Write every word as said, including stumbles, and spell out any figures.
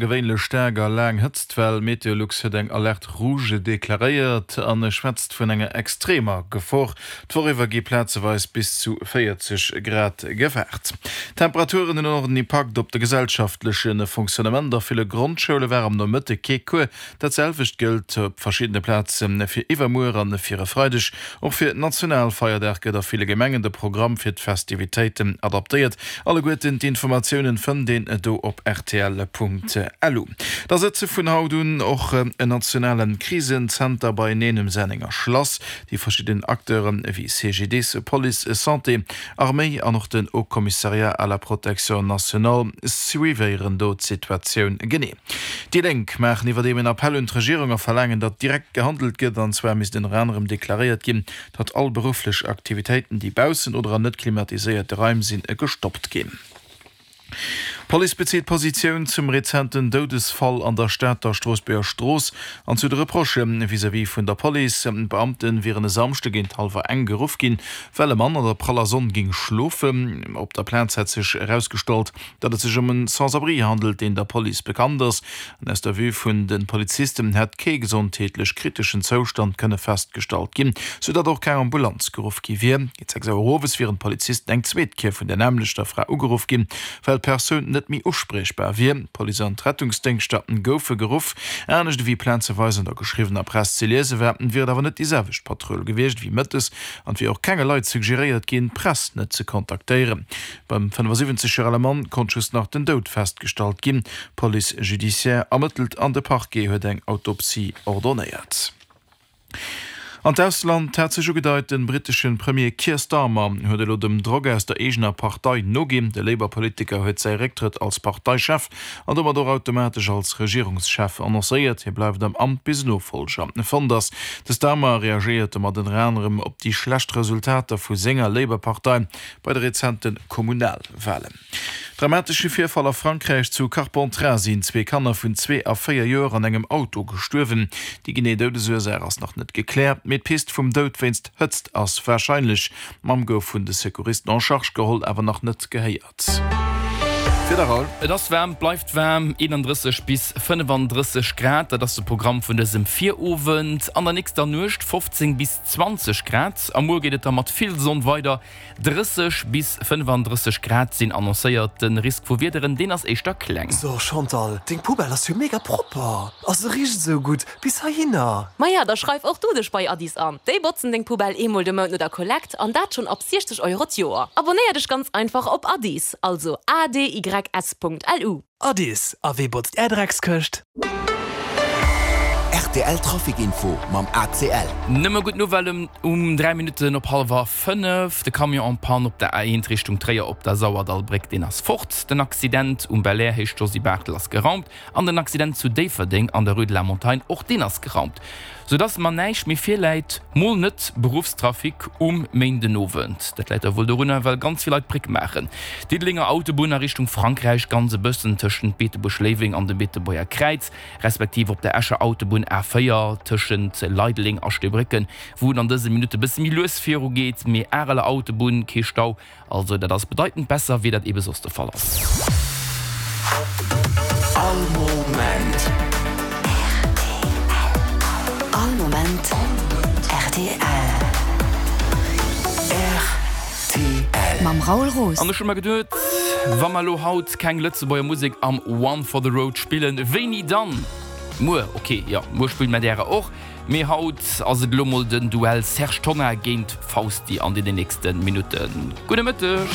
Gewéinlech staark a laang Hëtztwell, Meteolux huet eng Alerte rouge deklaréiert a schwätzt vun enger extremer Gefor. D'Woch iwwer gi plazeweis bis zu véierzeg Grad gewaart. D'Temperaturen hunn och en Impakt op de gesellschaftleche Fonctionnement. A ville Grondschoule war am Nomëtte kee Cours. Dat selwecht gëllt op verschiddene Plaze fir iwwermuer an fir e Freideg. Och fir Nationalfeierdag gëtt a ville Gemengen de Programm fir d'Festivitéiten adaptéiert. Alleguerten d'Informatiounen fënnt een do op rtl.lu. Da sëtze vun haut un och en nationale Krisenzenter beieneen um Sennenger Schlass. Déi verschidden Acteuren ewéi C G D S, Police, Santé, Arméi an och den Haut Commissariat à la protection nationale suivéieren do d'Situatioun genee. Déi Lénk maachen iwwerdeem en Appell un d'Regierung a verlaangen, datt direkt gehandelt gëtt. An zwar misst ënner anerem deklaréiert ginn, datt all berufflech Aktivitéiten, déi baussen oder an net klimatiséierte Raim sinn, gestoppt ginn. D'Police bezitt Positioun zum rezenten Doudesfall an der Stater Stroossbuerger Strooss an zu de Reprochë vis-à-vis vun der Police. D'Beamte wieren e Samschde géint hallwer eng geruff ginn, well e Mann an der praller Sonn géing schlofen. Op der Plaz hätt sech erausgestallt, datt et sech ëm en Sans-abri handelt, deen der Police bekannt ass. An aus der Vue vun de Polizisten hätt kee gesondheetlech kriteschen Zoustand kënne festgestallt ginn, sou datt och keng Ambulanz geruff gi wier. Géint sechs Auer owes wieren d'Polizisten eng zweet Kéier vun der nämmlechter Fra ugeruff ginn, well d'Persoun net méi uspriechbar wier. D'Police an d'Rettungsdéngschter goufe geruff. Anescht ewéi plazeweis an der geschriwwener Press ze liese war, wier et awer net déi selwecht Patrull gewiescht ewéi mëttes an et wier och kenge Leit suggeréiert ginn, d'Press net ze kontaktéieren. Beim fënnefasiwwenzeg Joer ale Mann konnt just nach den Doud festgestallt ginn. D'Police judiciaire ermëttelt an de Parquet huet eng Autopsie ordonéiert. An d'Ausland hat sech ugedeit, de brittesche Premier Keir Starmer huet elo dem Drock aus der eegener Partei noginn. De Labour-Politiker huet säi Récktrëtt als Parteichef an domat och automatesch als Regierungschef annoncéiert. Hie bleift am Amt bis en Nofollger fonnt ass. De Starmer reagéiert domat ënner anerem op déi schlecht Resultater vu senger Labour-Partei bei de rezente Kommunalwalen. Dramatesche Virfall a Frankräich, Zu Carpentras sinn zwee Kanner vun zwee a véier Joer an engem Auto gestuerwen. Déi genee Doudesursaach ass nach net gekläert, mee d'Pist vum Doud wéinst Hëtzt ass warscheinlech. D'Mamm gouf vun de Secouristen en charge geholl, awer nach net gehéiert. Fir de Raoul. Et ass waarm, et bleift waarm, eenandrësseg bis fënnefandrësseg Grad, dat ass de Programm vun dësem Virowend. An der nächster Nuecht fofzéng bis zwanzeg Grad a muer geet et da mat vill Sonn weider, drësseg bis fënnefandrësseg Grad sinn annoncéiert. De Risk vu Wiederen, deen ass éischter kleng. So Chantal, deng Poubelle ass jo mega propper a se richt esou gutt bis heihinner. Maja, da schreif och du dech bei Adys an. Déi botzen deng Poubelle eemol de Mount no der Kollekt an dat schonn ab siechzeg Euro d'Joer. Abonéier dech ganz einfach op Adys, also A D Y S Punkt L U. Adys, a wee botzt är Dreckskëscht? R T L Trafic Info mam A C L. Nëmme gutt Nouvellen um dräi Minutten op hallwer fënnef. De Camion en panne op der A eent Richtung Tréier op der Sauerdallbréck, deen ass fort. Den Accident um Belair, Héicht Josy Barthel, ass geraumt an den Accident zu Déifferdeng an der Rue de la Montagne, och deen ass geraumt. Sou dass mer näischt méi virläit, mol net Beruffstrafic um Méindenowend. Dat läit da wuel dorunner, well ganz vill Leit d'Bréck maachen. Diddelenger Autobunn a Richtung Frankräich, ganz e bëssen tëschent Beetebuerg-Léiweng an dem Beetebuerger Kräiz, respektiv op der Escher Autobunn A véier tëschent Leideleng a Steebrécken, wou et an dëse Minutte bësse méi lues virugeet, mee Areler Autobunn kee Stau. Also dat ass bedeitend besser, wéi dat eebe soss de Fall ass. All Moment. All Moment R T L. R T L. Mam Raoul Roos. An ech hu mer geduet, wa mer elo haut keng Lëtzebuerger Musek am One for the Road spillen, wéini dann? Muer, ok, jo, muer spille mer därer och, mee haut ass et elo mol den Duell Serge Tonnar géint Fausti an deenen nächste Minutten. Gudde Mëtteg!